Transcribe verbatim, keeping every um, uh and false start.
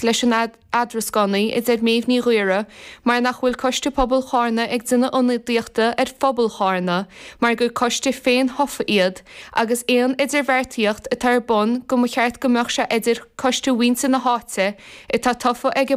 leis an eadrascánaí, a deir Méabh Ní Ghaora, mar nach bhfuil Coiste Pobail Chárna ag déanamh ionadaíochta ar phobal Chárna mar gur coiste féin-thofa iad agus aon idirbheartaíocht atá ar bun go mba cheart go mbeadh sé idir coiste mhuintir na háite atá tofa ag